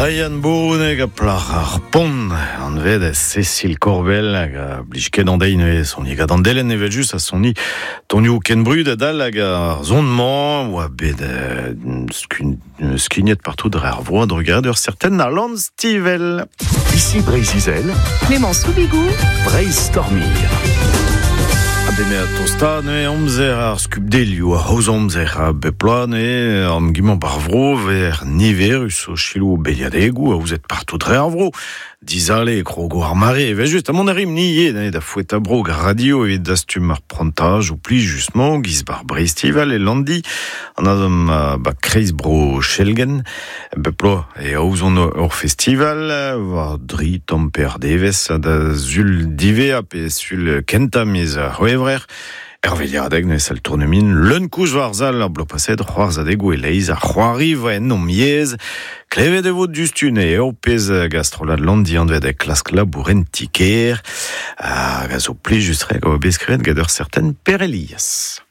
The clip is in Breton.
Ryan Bournek a plac'h ar pont anvet Cécile Corbel hag a blij ket an deiz neuze soni gant an delenn evel just a soni tonioù ken brud adal hag ar zon-mañ oa bet skignet partout dre ar vro a-drugarez d'ur certain Alan Stivell. Ici Breizh-Izel, Clément Soubigou, Breizh Stormir. A beme a tosta neuze amzer ar skubdelioù, ar c'hozh amzer a bep bloaz neuze am gimañ bar vro ver niverus o selaou beliadegoù aozet partout dre ar vro. Dizale e krogo ar mare evel-just ha mont a rimp ni ivez neuze da foetañ bro gant radio evit dastum ar prantajoù plijus-mañ giz bar Breizhtival e Landi an azom ba kreiz bro Chelgen. Bep bloaz e aozont ur festival war dri tamm per devezh da sul diwezhañ pe sul kentañ miz C'hwevrer. Er veilhadeg neuze sal tournemin leun-koulz war sal ar bloaz paset c'hoarzhadegoù e-leizh ar c'hoari vo en hom yezh. Klevet e vo diouzhtu eo pezh gastrollad Landi anvet klask labour en ti-kêr hag a zo plijus-tre gant bet skrivet gant ur certain Per Elias.